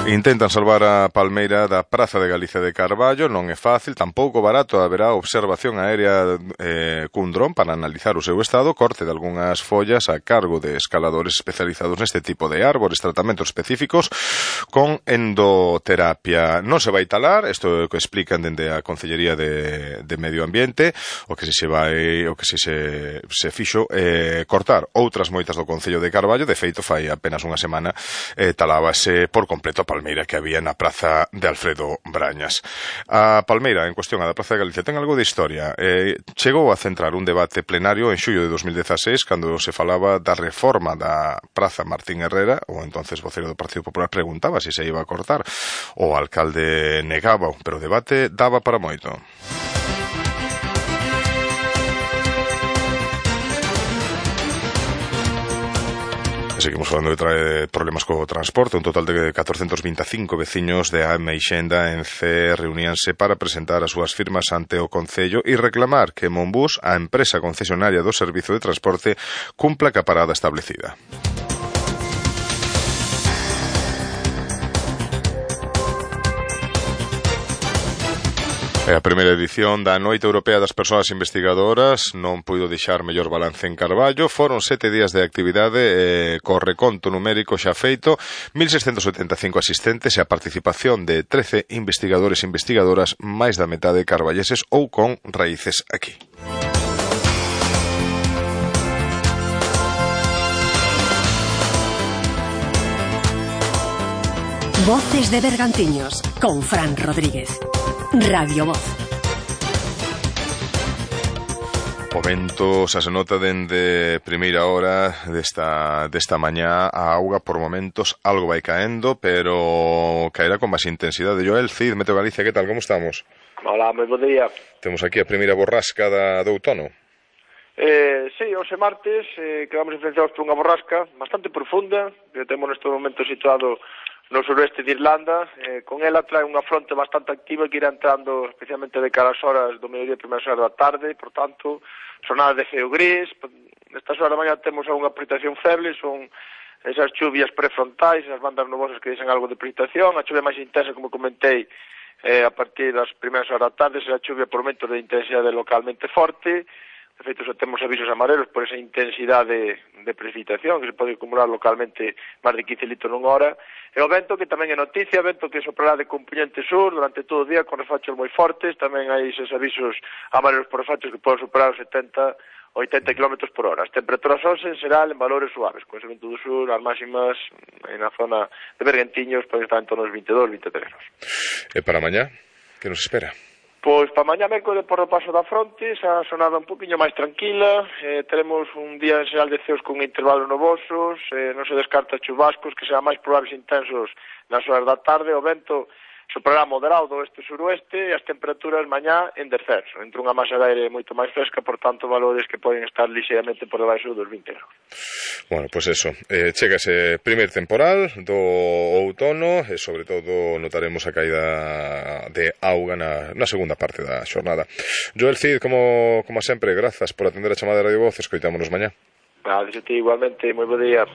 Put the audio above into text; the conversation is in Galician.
Intentan salvar a palmeira da Praza de Galicia de Carballo. Non é fácil, tampouco barato. Haberá observación aérea cun dron para analizar o seu estado, corte de algunhas follas a cargo de escaladores especializados neste tipo de árbores, tratamentos específicos con endoterapia. Non se vai talar, isto é o que explican dende a Concellería de Medio Ambiente. O que se fixo cortar outras moitas do Concello de Carballo. De feito, fai apenas unha semana talábase por completo a palmeira que había na Praza de Alfredo Brañas. A palmeira en cuestión, a da Praza de Galicia, ten algo de historia. Chegou a centrar un debate plenario en xullo de 2016 cando se falaba da reforma da Praza Martín Herrera. O entonces vocero do Partido Popular preguntaba se se iba a cortar. O alcalde negaba, pero o debate daba para moito. Seguimos falando de problemas co transporte. Un total de 425 veciños de Ameixenda en Cee reuníanse para presentar as súas firmas ante o Concello e reclamar que Monbus, a empresa concesionaria do servizo de transporte, cumpla ca parada establecida. A primeira edición da Noite Europea das Persoas Investigadoras non puido deixar mellor balance en Carballo. Foron 7 días de actividade co reconto numérico xa feito, 1.675 asistentes e a participación de 13 investigadores e investigadoras, máis da metade carballeses ou con raíces aquí. Voces de Bergantiños con Fran Rodríguez. Radio Voz. O vento xa se nota dende primeira hora desta mañá. A auga por momentos algo vai caendo, pero caerá con máis intensidade. Joel Cid, Meteo Galicia, que tal? Como estamos? Hola, moi bo día. Temos aquí a primeira borrasca do outono. Sí, hoxe martes quedamos influenciados por unha borrasca bastante profunda que temos neste momento situado no suroeste de Irlanda. Con ela trae unha fronte bastante activa que irá entrando especialmente de cara ás horas do mediodía e primeiras horas da tarde. Por tanto, sonadas de ceo gris. Nestas horas da mañá temos algunha precipitación feble, son esas chuvias prefrontais, esas bandas nubosas que deixan algo de precipitación. A chuvia máis intensa, como comentei, a partir das primeiras horas da tarde, será chuvia por momentos de intensidade localmente forte. De feito, xa temos avisos amarelos por esa intensidade de precipitación que se pode acumular localmente máis de 15 litros nunha hora. E o vento, que tamén é noticia, vento que soprará de componente sur durante todo o día con refachos moi fortes. Tamén hai esos avisos amarelos por refachos que poden superar os 70 80 km por hora. As temperaturas hoxe serán en valores suaves, con ese vento do sur, as máximas na zona de Bergantiños poden estar en torno aos 22-23 graus. E para mañá, que nos espera? Pois para mañá mércores por o paso da fronte, esa sonada un poquinho máis tranquila. Teremos un día en xeral de ceos con intervalos nubosos, non se descarta chubascos que serán máis probables e intensos nas horas da tarde. O vento soprará moderado do oeste-suroeste e as temperaturas mañá en descenso, entre unha masa de aire moito máis fresca, por tanto valores que poden estar lixeiramente por debaixo dos 20 graus. Bueno, pois eso, chega ese primer temporal do outono e sobre todo notaremos a caída de auga na segunda parte da xornada. Joel Cid, como sempre, grazas por atender a chamada de Radio Voz. Escoitámonos mañá. Gracias a ti igualmente, moi bo día.